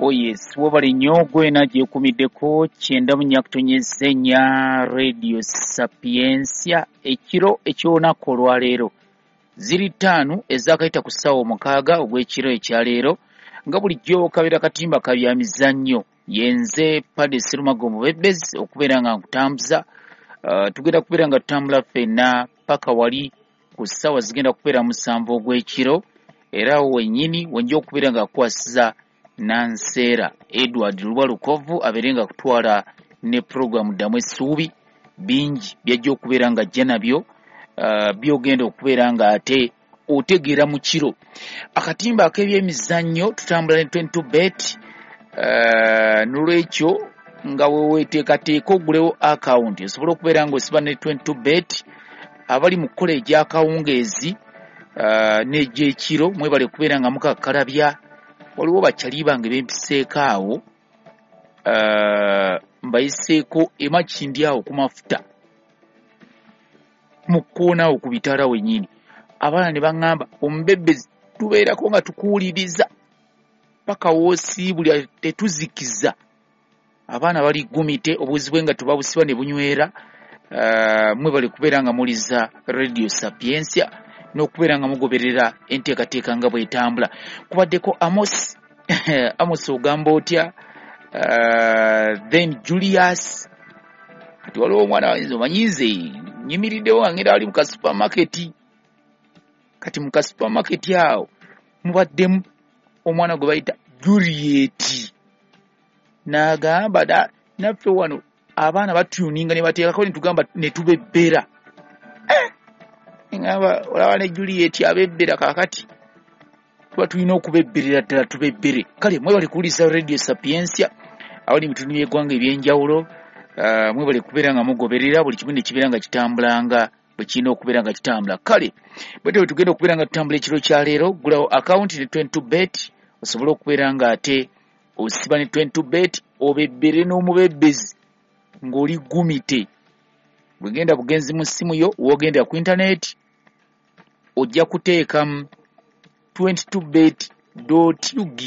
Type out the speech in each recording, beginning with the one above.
Oh yes, webale nnyo gwena gyekumiddeko 94.4 Radio Sapientia ekiro eky'olunaku olwaleero. Ziri 5 ezakayita ku ssaawa 6 ogw'ekiro ekyaleero nga bulijjo kabeera katimba ka bya mizannyo. Yenze Paddy Serumago Mubebezi okubeera nga nkutambuza. Tugenda kubeera nga tutambula ffenna paka wali ku ssaawa zigenda kubeera 7 ogw'ekiro, era awo wennyini wenja okubeera nga kukwasiza Nanseera Edward Luba Lukovu abeere nga kutwala ne puroguramu Ddamu Essuubi. Bingi byajja okubeera nga ajja nabyo, byogenda okubeera nga ate otegeera mu kiro. Akatimba ak'ebyemizannyo tutambula ne 22 bet, nolwekyo nga weweteekateeka ogulewo akawunti osobola okubeera ng'osiba ne 22 bet. Abali mu kukola egy'akawungeezi n'egy'ekiro mwebale kubeera nga mukakkalabya. Waliwo bakyali bange bempiseeko awo, mbayiseeko emakindi awo ku mafuta mu kkoona awo ku bitaala wennyini. Abaana ne baŋŋamba omubebezi tubeerako nga tukuwuliriza paka w'osiibulya tetuzikiza. Abaana bali gumite obuzi bwe nga tubabusiba ne bunywera. Mwebale kubeera nga muliza Radio Sapientia n'okubeera nga mugoberera enteekateeka nga bw'etambula. Kubaddeko Amos Amos ogamba otya? Then Julius, kati waliwo omwana wange omanyi nze nyimiriddewo nga ngenda wali mu ka supermarket. Kati mu ka supermarket awo mubaddemu omwana gwe bayita Juliet, n'agamba naffe wano abaana batuninga ne bateekako ne tugamba ne tubebbera. Ngamba olaba ne Juliet abebbera, kaakati tuba tulina okubebberera ddala tubebbere. Kale mwebale kuwuliriza Radio Sapientia abali mu bitundu by'eggwanga eby'enjawulo. Mwebale kubeera nga mugoberera buli kimu ne kibeera nga kitambulanga bwe kirina okubeera nga kitambula. Kale bwetyo bwe tugenda okubeera nga tutambula ekiro kya leero. Ggulawo akawunti ne 22 bet osobole okubeera nga ate osiba ne 22 bet, obebbere n'omubebbezi ng'oli gumite. Bwegenda bugenzi mu ssimu yo, w'ogenda ku internet ojja kuteekamu 22bet.ug.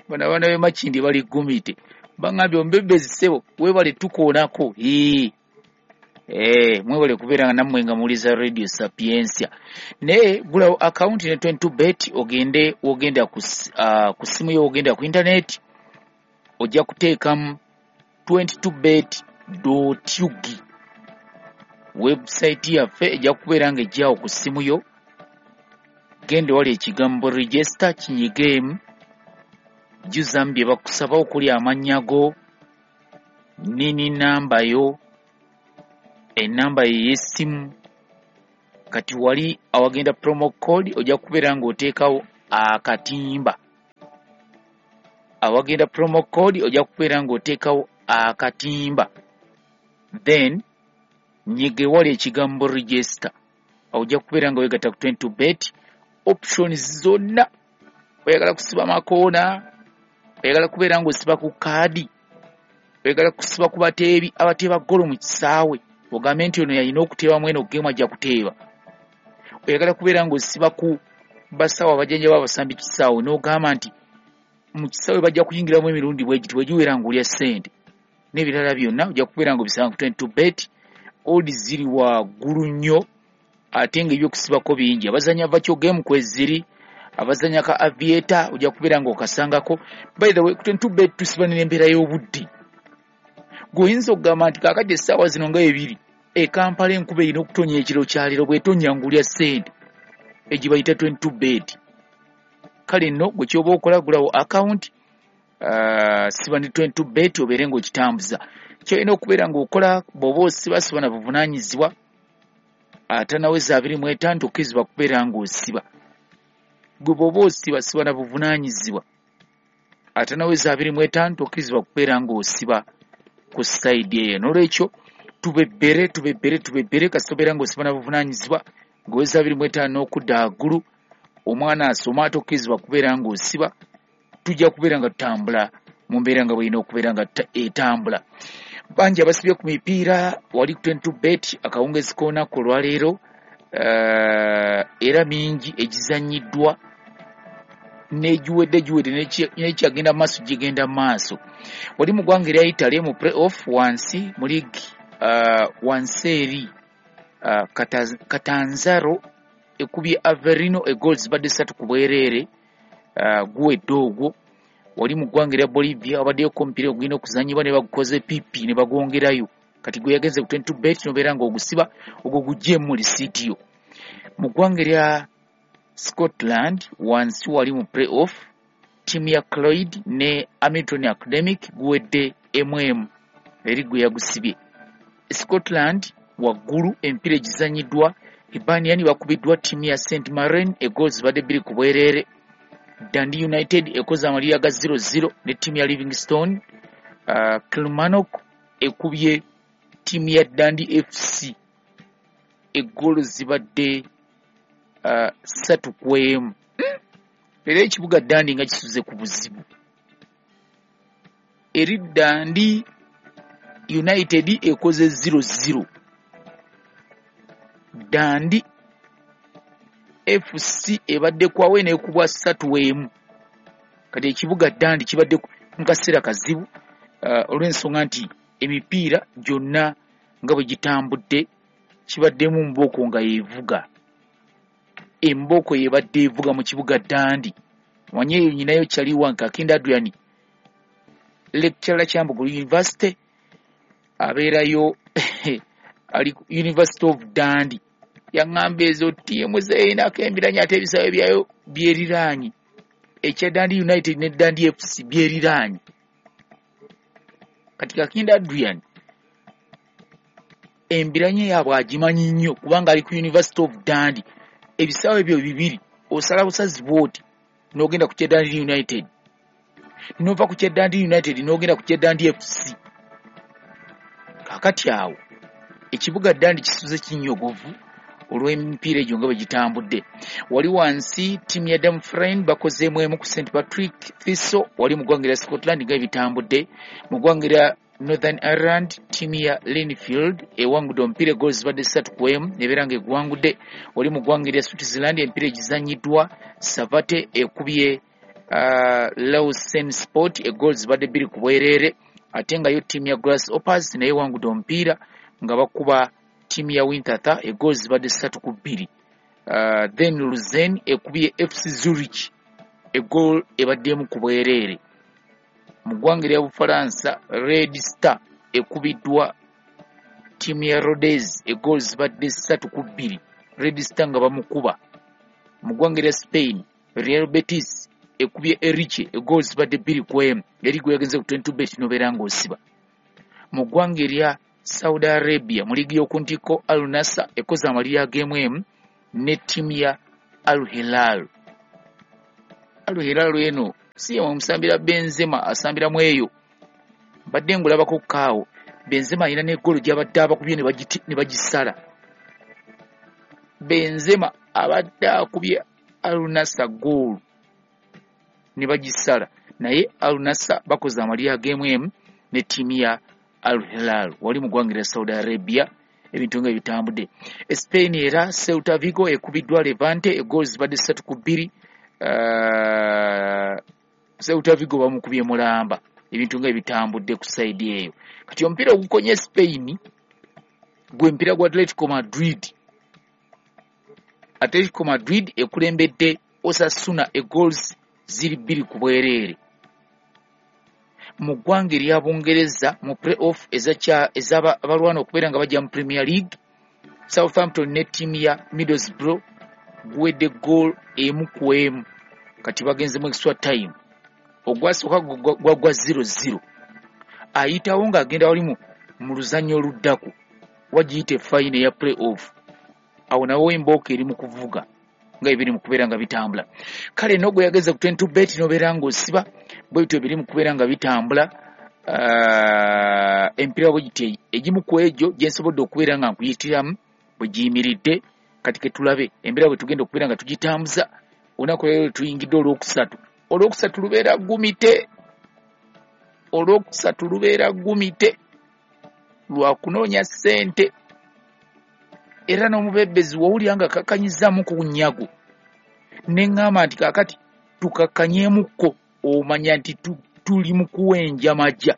Bano abaana b'e Makindye bali gumite, baŋŋambye omubebezi ssebo weebale tukoonako. Mwebale kubeera nga nammwe nga muwuliza Radio Sapientia. Naye gulawo akawunti ne 22 bet, ogende wogenda ku ssimu yo, wogenda ku internet ojja kuteekamu 22bet.ug. Website yaffe ejja kubeera nga ejjawo ku ssimu yo. Genda wali ekigambo register kinyigeemu, jjuzamu bye bakusaba okuli amannya go, nini namba yo, ennamba ye ey'essimu. Kati wali awagenda promo code ojja kubeera ng'oteekawo akatimba. Awagenda promo code ojja kubeera ng'oteekawo akatimba, then nyiga ewali ekigambo register. Awo ojja kubeera nga weegatta ku 22 bet. Options zonna, oyagala kusiba makoona, oyagala kubeera ng'osiba ku kaadi, oyagala kusiba ku bateebi abateeba ggolo mu kisaawe, ogambe nti ono yalina okuteebamu eno geemu ajja kuteeba. Oyagala kubeera ng'osiba ku basawo abajjanjaba abasambi kisaawe, n'ogamba nti mu kisaawe bajja kuyingiramu emirundi bwe giti, bwe giwera ng'olya ssente n'ebirala byonna, ojja kubeera ng'obisanga ku 22 bet. Odds ziri waggulu nnyo ate ng'ebyokusibako bingi. Abazannya virtual game kweziri, abazannya ka aviator ojja kubeera ng'okasangako. By the way, ku 22 bet tusiba n'embeera y'obudde. Gw'oyinza okugamba nti kaakati essaawa zino nga 2 e Kampala enkuba erina okutonya ekiro kya leero, bw'etonya ng'olya ssente egye bayita 22 bet. Kale nno gwe ky'oba okola, gulawo akawunti, siba ne 22 bet obeere ng'okitambuza. Ky'olina okubeera ng'okola bw'oba osiba, siba na buvunaanyizibwa. Atanaweza 25 tokkirizibwa kubeera ng'osiba. Gwe bw'oba osiba, siba na buvunaanyizibwa. Atanaweza 25 tokkirizibwa kubeera ng'osiba ku sayidi eyo. Noolwekyo tubebbere, tubebbere, tubebbere. Kasita obeera ng'osiba na buvunaanyizibwa, ng'oweza 25 n'okudda waggulu, omwana asoma tokkirizibwa kubeera ng'osiba. Tujja kubeera nga tutambula mu mbeera nga bw'erina okubeera nga etambula. Bangi abasibye ku mipiira wali ku 22 bet akawungeezi k'olunaku olwaleero, era mingi egizannyiddwa. Negiwedde giwedde, nekyagenda maaso gigenda maaso. Wali mu ggwanga erya Italy mu play off wansi mu league, wansi eri Catanzaro ekubye Avellino, egoals zibadde 3 ku bwereere, guwedde ogwo. Wali mu ggwanga erya Bolivia wabaddeyo omupiira ogulina okuzannyibwa ne bagukoze pipi ne bagwongerayo. Kati gwe yagenze ku 22 bet nobeera ng'ogusiba ogwo guggyemu mu risiiti yo. Mu ggwanga erya Scotland wansi wali mu play off, ttiimu ya Cloyd ne Hamilton Academic guwedde 1-1, eri gwe yagusibye. Scotland waggulu emipiira egizannyiddwa, Hibernian bakubiddwa ttiimu ya St Mirren, egoals zibadde 2 ku bwereere. Dundee United ekoze amalira ga 0-0 ne ttiimu ya Livingstone. Kilmarnock ekubye ttiimu ya Dundee FC, eggoolo zibadde 3-1. Era ekibuga Dundee nga kisuze ku buzibu. Eri Dundee United ekoze 0-0. Dundee FC ebadde kwawe n'ekubwa 3-1. Kati ekibuga Dundee kibadde mu kaseera kazibu, olw'ensonga nti emipiira gyonna nga bwe gitambudde kibaddemu mbooko nga yeevuga. Embooko yebadde evuga mu kibuga Dundee. Omanyi eyo nyinayo kyali wange Kakinda Adrian, lecturer Kyambogo University, abeerayo ali ku University of Dundee. Yaŋŋamba ezo ttiimu z'erinako embiranye ate ebisaawe byayo byeriraanye. Ekya Dundee United ne Dundee FC byeriraanye. Kati Kakinda Adrian embiranye yaabwe agimanyi nnyo kubanga ali ku University of Dundee. Ebisaawe ebyo bibiri osala busazi bw'oti n'ogenda ku kya Dundee United, n'ova ku kya Dundee United n'ogenda ku kya Dundee FC. Kaakati awo ekibuga Dundee kisuze kinnyogovu olw'emipiira egyo nga bwe gitambudde. Wali wansi ttiimu ya Dumfries bakozeemu emu ku St Patrick Thistle, wali mu ggwanga erya Scotland nga bitambudde. Mu ggwanga erya Northern Ireland ttiimu ya Linfield ewangudde omupiira, egoals zibadde 3-1 nebeera ng'egwangudde. Wali mu ggwanga erya Switzerland emipiira egizannyiddwa, Savate ekubye Lausanne Sport, egoals zibadde 2 ku bwereere. Ate nga yo ttiimu ya Grasshoppers naye ewangudde omupiira nga bakuba ttiimu ya Winterthur, egoals zibadde 3-2. Then Luzern ekubye FC Zurich, egoal ebadde 1 ku bwereere. Mu ggwanga erya Bufalansa Red Star ekubiddwa ttiimu ya Rodez, egoals zibadde 3-2, Red Star nga bamukuba. Mu ggwanga erya Spain Real Betis ekubye Elche, egoals zibadde 2-1, eri gwe yagenze ku 22 bet nobeera ng'osiba. Mu ggwanga erya Saudi Arabia mu liigi y'oku ntikko Al Nassr ekoze amalira ag'emu ne ttiimu ya Al Hilal. Al Hilal eno si ye omusambira Benzema asambiramu eyo, mbadde ngulabako kaawo. Benzema alina n'eggolo gy'abadde abakubye ne bagisala. Benzema abadde akubye Al Nassr goal ne bagisala, naye Al Nassr bakoze amalira ag'emu ne ttiimu ya Al Hilal wali mu ggwanga erya Saudi Arabia. Ebintu nga bitambudde. Spain era Celta Vigo ekubiddwa Levante, egoals zibadde 3-2. Celta Vigo bamukubye mulamba. Ebintu nga bitambudde ku side eyo. Kati omupiira ogukonye Spain gwe mupiira gwa Atletico Madrid. Atletico Madrid ekulembedde Osasuna, egoals ziri 2 ku bwereere. Mu ggwanga erya Bungereza mu play off ez'abalwana okubeera nga bajja mu Premier League, Southampton ne ttiimu ya Middlesbrough guwedde goal 1-1. Kati bagenze mu extra time. Ogwasooka gwagwa 0-0. Ayitawo ng'agenda wali mu luzannya oluddako wagiyita efayina eya play off. Awo nawo embooka eri mu kuvuga nga ebiri mu kubeera nga bitambula. Kale n'ogwe yageze ku 22 bet n'obeera ng'osiba bwe bityo biri mu kubeera nga bitambula. Empiira bwe giti egimu ku egyo gye nsobodde okubeera nga nkuyitiramu bwe giyimiridde. Kati ke tulabe embeera bwe tugenda okubeera nga tugitambuza. Olunaku leero tuyingidde olwokusatu. Olwokusatu lubeera gumite. Olwokusatu lubeera gumite lwa kunoonya ssente. Era n'omubebbezi wowulira nga kakanyizaamu ku nnyago. Ne ŋŋamba nti kaakati Tukakkanyeemukko, omanya nti tuli mu kuwenja majja,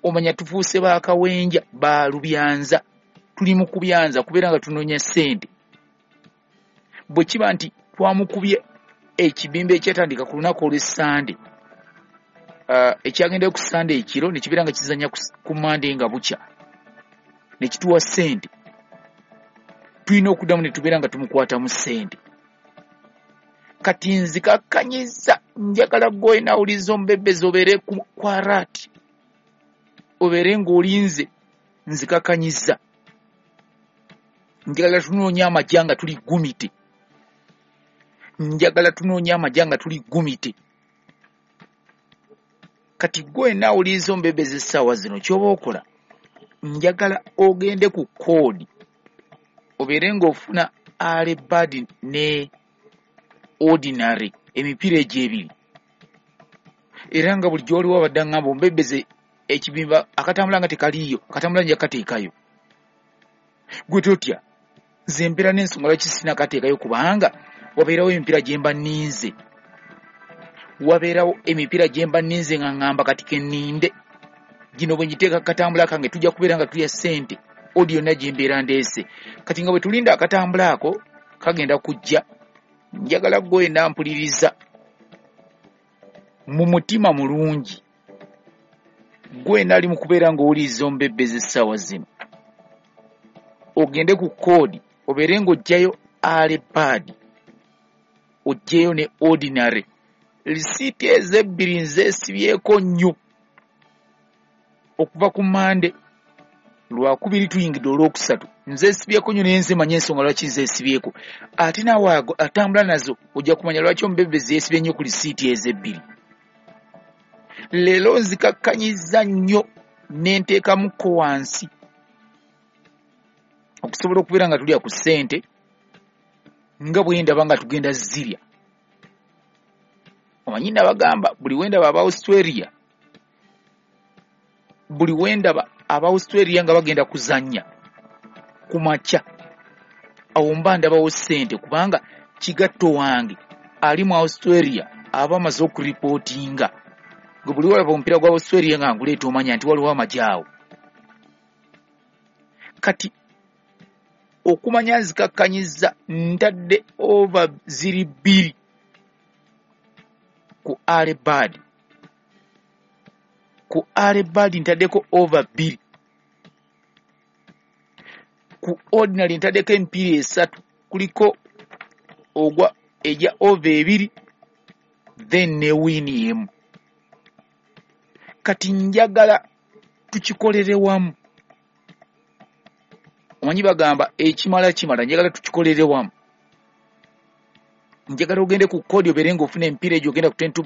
omanya tufuuse bakawenja balubyanza, tuli mu kubyanza kubeera nga tunoonya ssente. Bwe kiba nti twamukubye ekibimba ekyatandika ku lunaku olw'Essande, ekyagendayo ku Ssande ekiro ne kibeera nga kizannya ku Mande nga bukya ne kituwa ssente, tulina okuddamu ne tubeera nga tumukwatamu ssente. Kati nzikakkanyiza, njagala gwe nawuliza omubebezi obeere ku alert, obeere ng'olinze. Nzikakkanyiza, njagala tunoonya amajja nga tuli gumite, njagala tunoonya amajja nga tuli gumite. Kati gwe nawuliza omubebezi essaawa zino ky'oba okola, njagala ogende ku code obeere ng'ofuna early bird ne ordinary, emipiira egyo ebiri. Era nga bulijjo waliwo abadde aŋŋamba omubebeze ekibimba akatambula nga tekaliiyo, akatambula nja kateekayo. Gwe totya, nze mbeera n'ensonga lwaki sirina kateekayo, kubanga wabeerawo emipiira gye mba nninze, wabeerawo emipiira gye mba nninze nga ŋŋamba kati ke nninde gino, bwe ngiteeka katambula kange tujja kubeera nga tulya ssente odi yonna gye mbeera ndeese. Kati nga bwe tulinda akatambula ako kagenda kujja, njagala gwe nampuliriza mu mutima mulungi, gwe nali mu kubeera ng'owuliriza omubebezi essaawa zino, ogende ku code obeere ng'oggyayo early bird, oggyeyo ne ordinary. Risiiti ezo ebbiri nzeesibyeko nnyo okuva ku Mande, Lwakubiri tuyingidde Olwokusatu, nzeesibyeko nnyo, naye nze manye ensonga lwaki nzeesibyeko. Ate naawe atambula nazo ojja kumanya lwaki omubebezi yeesibye nnyo ku risiiti ezo ebbiri. Leero nzikakkanyizza nnyo ne nteekamukko wansi okusobola okubeera nga tulya ku ssente nga bwe ndaba nga tugenda zirya. Omanyi nabagamba buli wendaba aba Australia, buli wendaba aba Australia nga bagenda kuzannya ku makya, awo mba ndabawo ssente, kubanga kigatto wange ali mu Australia aba amaze okuripootinga. Gwe buli walaba omupiira gwa Australia nga nguleeta omanya nti waliwo amagye awo. Kati okumanya nzikakkanyiza, ntadde over ziri 2 ku early bird, ku early bird ntaddeko over 2, ku ordinary ntaddeko emipiira 3, kuliko ogwa ejja over 2 then ne win emu. Kati njagala tukikolere wamu. Omanyi bagamba ekimala kimala, njagala tukikolere wamu. Njagala ogende ku code obeere ng'ofuna emipiira egyo, ogenda ku 22.